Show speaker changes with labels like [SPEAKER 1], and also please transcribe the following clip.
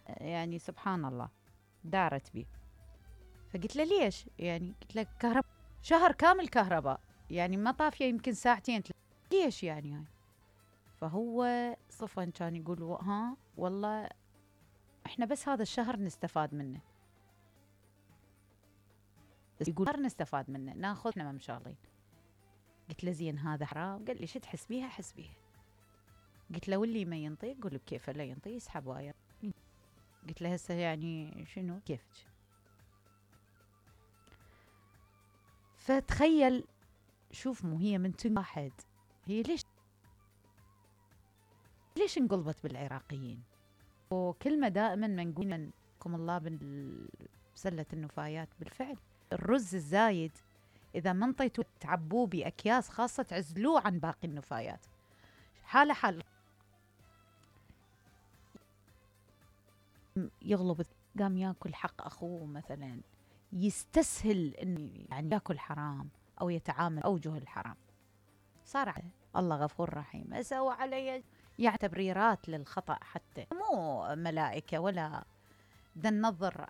[SPEAKER 1] يعني سبحان الله دارت بي. فقلت له ليش؟ يعني قلت له كهرباء شهر كامل كهرباء، يعني ما طافيه يمكن ساعتين ليش يعني هاي؟ فهو صفن كان يقول ها والله احنا بس هذا الشهر نستفاد منه، بس يقول شهر نستفاد منه ناخذ احنا مشغلين. قلت له زين هذا حرام؟ قال لي شو تحسبيها حسبيها. قلت له واللي ما ينطي قول بكيفه لا ينطي يسحب واير. قلت له هسه يعني شنو كيفك؟ فتخيل شوف مو هي من واحد، هي ليش انقلبت بالعراقيين؟ وكلمة دائما ما نقول منكم الله بسلة النفايات. بالفعل الرز الزايد إذا ما انطيتوا تعبوه بأكياس خاصة تعزلوه عن باقي النفايات. حالة حال يغلب قام ياكل حق أخوه مثلا، يستسهل إنه يعني ياكل حرام أو يتعامل أوجه الحرام. صار الله غفور رحيم أسوى علي يعني تبريرات للخطأ، حتى مو ملائكة ولا بدنا ننظر